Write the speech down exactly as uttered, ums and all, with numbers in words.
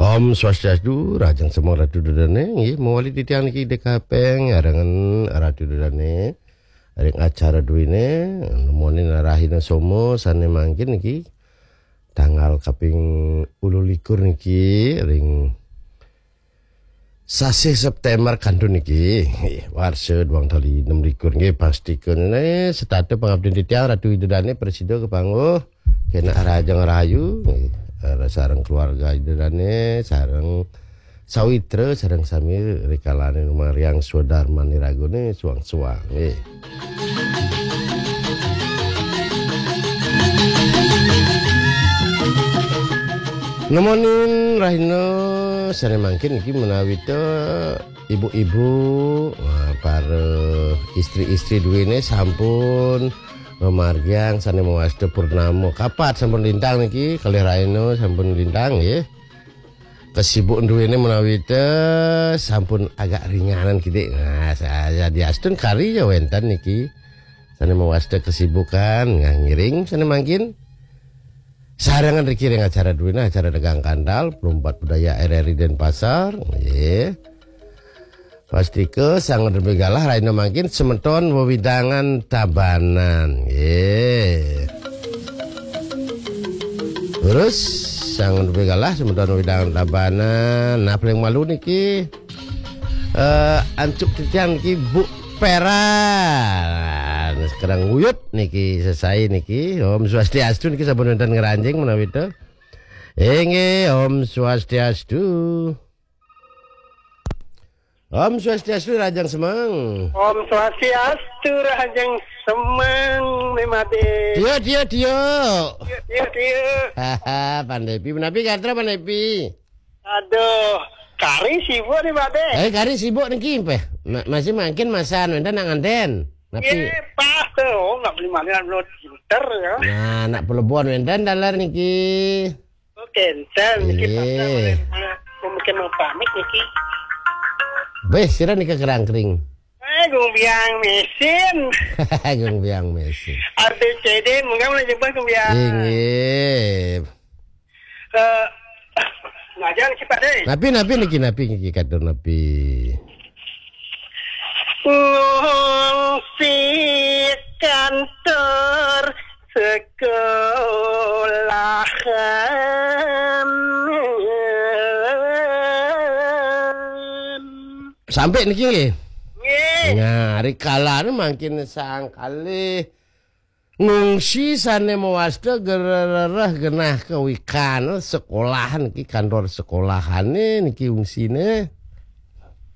Om Swastiastu, rahajeng semeng Ratu Dedane, nggih, mawali titiang niki D K P, arengen Ratu Dedane, ring acara duwine, nemonin rahina Soma sane mangkin niki, tanggal kaping ulu likur niki, ring sasih September kantun niki, nggih, warsa duang tali enam likur, nggih, pastika ne, setata pangabdian titiang Ratu Ida Dane prasida kepangguh, kena rahajeng rahayu, nggih, eh, sareng keluarga Ida Dane, sareng sawitra, sareng sami rikalane numargiang swadarman iragane suang-suang, nggih. Nemonin rahina sane mangkin iki menawi ta ibu-ibu, eh, para istri-istri duwene sampun ngamargiang sane mawasta purnama. Kapat sampun lintang niki, kalih rahina sampun lintang nggih. Kesibukan duwene menawi ta sampun agak ringanan kidik. Nah, saya diastun kari ya wenten niki. Sane mawasta kesibukan, nah, ngiring sane mangkin. Sarengan riki ring acara duwene, acara dagang kandal, Perumpat Budaya R R I Denpasar, nggih. Pastika sang nepi galah rahina mangkin semeton wewidangan Tabanan, nggih. Terus sang nepi galah semeton wewidangan Tabanan. Nah, paling malu niki, eh, ancuk titiang niki Bu Pera. Nah, sekarang nguyut niki, sesai niki. Om Swastiastu niki, sampun wenten ngranjing menawi ta. Inggih, Om Swastiastu. Om Swastiastu, rahajeng semeng. Om Swastiastu, rahajeng semeng, Made. Tiuk, tiuk, tiuk. Tiuk, tiuk, tiuk. Haha, Pandepi, menapi gatra Pandepi? Aduh, kari sibuk nih, Made. Eh, kari sibuk niki, peh. Ma-, masih mangkin masan, wenten nak nganten. Napi? Iya, pas tuh. Oh, nggak beli mana, belum pinter ya. Nah, nak pelebon wenten dalar niki. Oke, enten niki. Iya. Pasar oleh, oleh pemukiman pamit niki. Beh, sira nika kerangkring. Eh, Gung Biang Mesin. Gung Biang Mesin. A B C D, mungkin mulai jebak Gung Biang. Inggih. Eh, ngajar sih, Pak, deh. Napi, napi niki, napi niki, katur napi? Ngungsi kantor sekolahan. Sampai niki nggih. Nggih. Nah, rikala mangkin sang kalih ngungsi sane mawasta gerereh genah kawikan sekolahan niki, kantor sekolahane niki ungsine.